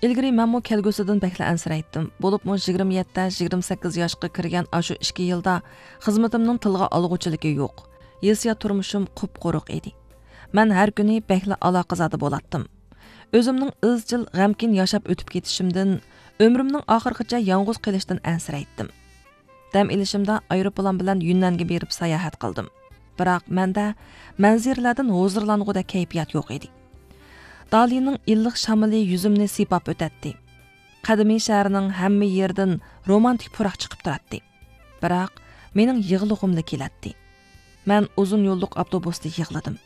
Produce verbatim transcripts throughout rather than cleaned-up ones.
ئىلگىرى مەنمۇ كەلگۈسىدىن بەكلا ئەنسىرەيتتىم. بولۇپمۇ يىگىرمە يەتتە، يىگىرمە سەككىز ياشقا كىرگەن ئاشۇ ئىككى يىلدا خىزمىتىمنىڭ تىلغا ئالغۇچىلىكى يوق. ھېسسىيات تۇرمۇشۇم قۇپقۇرۇق ئىدى. مەن ھەر كۈنى بەكلا ئالاقىزادە بولاتتىم. ئۆزۈمنىڭ ئىزچىل غەمكىن ياشاپ ئۆتۈپ كېتىشىمدىن، ئۆمرۈمنىڭ ئاخىرىغىچە يالغۇز قېلىشتىن ئەنسىرەيتتىم. دەم ئېلىشىمدا ئايروپىلان بىلەن يۈننەنگە بېرىپ ساياھەت قىلدىم. بىراق مەندە مەنزىرىلەردىن ھۇزۇرلانغۇدەك كەيپىيات يوق ئىدى. دالىنىڭ ئىللىق شامىلى يۈزۈمنى سىيپاپ ئۆتەتتى. قەدىمىي شەھەرنىڭ ھەممە يېرىدىن رومانتىك پۇراق چىقىپ تۇراتتى. بىراق مېنىڭ يىغلىغۇملا كېلەتتى. مەن ئۇزۇن يوللۇق ئاپتوبۇستا يىغلىدىم.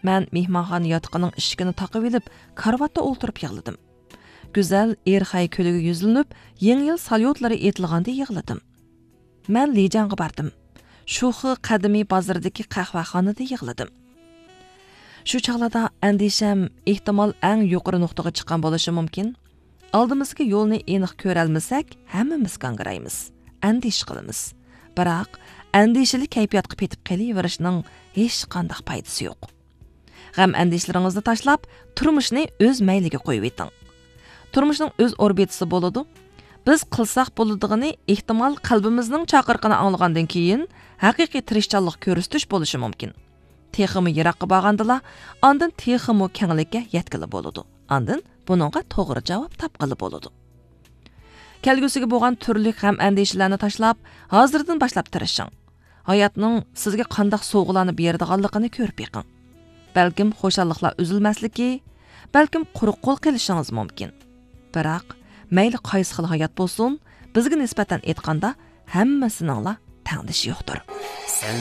مەن مېھمانخانا ياتىقىنىڭ ئىشىكىنى تاقىۋېلىپ، كارىۋاتتا ئولتۇرۇپ يىغلىدىم. گۈزەل ئېرخەي كۆلىگە يۈزلىنىپ، يېڭى يىل ساليۇتلىرى ئېيتىلغاندا يىغلىدىم. مەن لىجياڭغا باردىم. شۇخې قەدىمىي بازىرىدىكى قەھۋەخانىدا يىغلىدىم. شۇ چاغلاردا ئەندىشەم ئېھتىمال ئەڭ يۇقىرى نۇقتىغا چىققان بولۇشى مۇمكىن. ئالدىمىزدىكى يولنى ئېنىق كۆرەلمىسەك، ھەممىمىز گاڭگىرايمىز، ئەندىشە قىلىمىز. بىراق، ئەندىشىلىك كەيپىياتقا پېتىپ قېلىۋېرىشنىڭ ھېچقانداق پايدىسى يوق. غەم-ئەندىشىلىرىڭىزنى تاشلاپ، تۇرمۇشنى ئۆز مەيلىگە قويۇۋېتىڭ. تۇرمۇشنىڭ ئۆز ئوربىتىسى بولىدۇ. بىز قىلساق بولىدىغىنى، ئېھتىمال، قەلبىمىزنىڭ چاقىرىقىنى ئاڭلىغاندىن كېيىن، ھەقىقىي تىرىشچانلىق كۆرسىتىش بولۇشى مۇمكىن. تېخىمۇ يىراققا بارغاندىلا، ئاندىن تېخىمۇ كەڭلىككە يەتكىلى بولىدۇ. ئاندىن بۇنىڭغا توغرا جاۋاب تاپقىلى بولىدۇ. كەلگۈسىگە بولغان تۈرلۈك غەم-ئەندىشىلەرنى تاشلاپ، ھازىردىن باشلاپ تىرىشىڭ. ھاياتنىڭ سىزگە قانداق سوۋغىلارنى بېرىدىغانلىقىنى كۆرۈپ بېقىڭ. بەلكىم خۇشاللىقلار ئۈزۈلمەسلىكى، بەلكىم قۇرۇق قول قېلىشىڭىز مۇمكىن. بىراق، مەيلى قايسى خىل ھايات بولسۇن، بىزگە نىسبەتەن ئېيتقاندا، ھەممىسىنىڭلا تەڭدىشى يوقتۇر. سەن